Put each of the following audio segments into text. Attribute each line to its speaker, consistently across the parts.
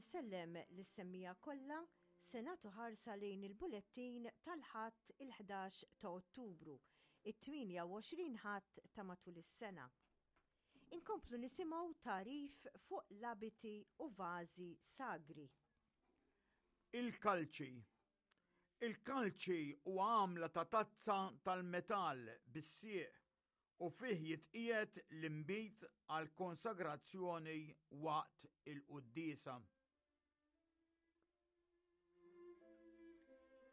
Speaker 1: Insellem lis-semmiegħa kollha, se nagħtu ħarsa lejn il-bulettin tal-Ħadd il-11 ta' Ottubru, it-28 Ħadd ta' matul is-sena. Inkomplu nisimgħu tagħrif fuq l-abiti u vażi sagri.
Speaker 2: Il-kalċi. Il-kalċi huwa għamla ta' tazza tal-metall bis-sieq u fih jitqiegħed l-inbid għall-konsagrazzjoni waqt il-quddiesa.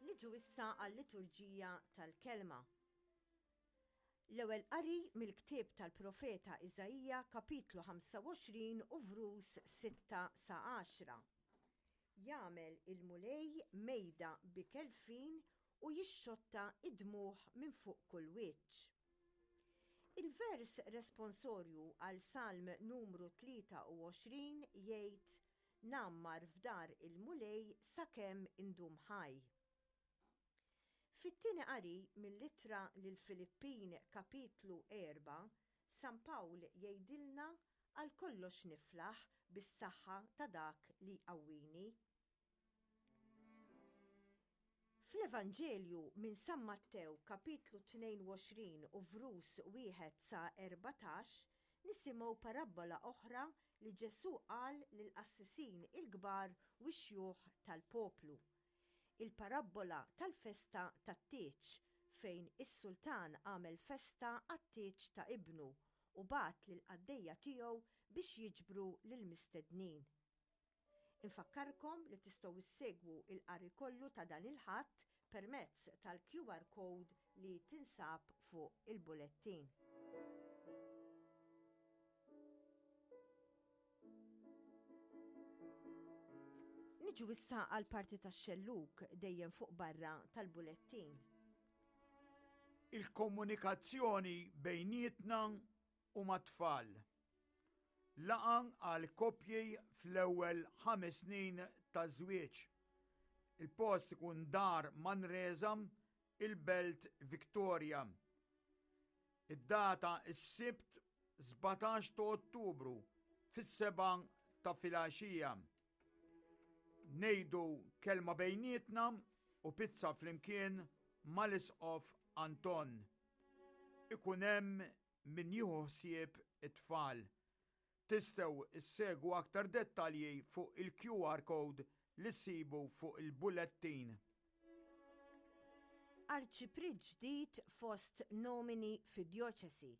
Speaker 1: Niġu issa għal-liturġija tal-Kelma. L-ewwel qari mill-ktieb tal-profeta Iżaija kapitlu 25 u vrus 6 sa 10. Jagħmel il-Mulej mejda b'ikel fin u jixxotta d-dmugħ minn fuq kull wiċċ. Il-vers responsorju għal Salm numru 23 jgħid, Ngħammar f'dar il-Mulej sakemm indum ħaj. Fit-tieni qari mill-Ittra lill-Filippin kapitlu 4, San Pawl jgħidilna għal kollox niflaħ bis-saħħa ta' dak li jqawwini. Fl-Evanġelju minn San Mattew kapitlu 22 u vrus 1 sa 14 nisimgħu parabbola oħra li Ġesù qal lill-qassisin il-kbar u x-xjuħ tal-poplu. Il-parabbola tal-festa tat-tieġ fejn is-sultan għamel festa għat-tieġ ta' ibnu u bagħat lill-qaddejja tiegħu biex jiġbru lill-mistednin. Infakkarkom li tistgħu ssegwu l-qari kollu ta' dan il-Ħadd permezz tal-QR code li tinsab fuq il-bulettin. Niġu issa għal parti tax-xellug dejjem fuq barra tal-bulettin.
Speaker 2: Il-komunikazzjoni bejnietna u mat-tfal. Laqgħa għal koppji fl-ewwel ħames snin taż-żwieġ. Il-post ikun Dar Manresa, il-Belt Victoria. Id-data s-Sibt 17 ta' Ottubru fis-7 ta' filgħaxija. Ngħidu kelma bejnietna u pizza flimkien mal-Isqof Anton. Ikun hemm min jieħu ħsieb it-tfal. Tistgħu ssegwu aktar dettalji fuq il-QR code li ssibu fuq il-bulettin.
Speaker 1: Arċipriet ġdid fost nomini fid-djoċesi.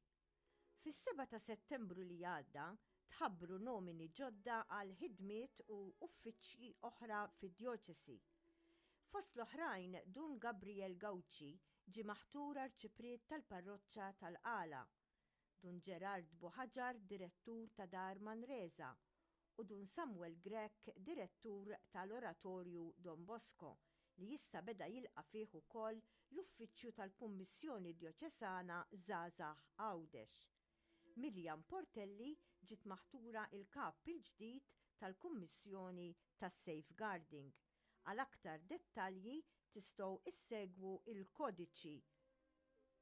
Speaker 1: Fis-7 ta' Settembru li għadda tħabbru nomini ġodda għal ħidmiet u uffiċċji oħra fid-djoċesi. Fost l-oħrajn Dun Gabriel Gauci ġie maħtur Arċipriet tal-Parroċċa tal-Qala, Dun Gerard Buhaġar Direttur ta' Dar Manresa u Dun Samuel Grech Direttur ta' l-Oratorju Don Bosco li issa beda jilqa' fih ukoll l-Uffiċċju tal-Kummissjoni Djoċesana Żgħażagħ Għawdex. Miriam Portelli ġiet maħtura l-Kap il-ġdid tal-Kummissjoni tas-Safeguarding. Għal aktar dettalji tistgħu issegwu l-kodiċi.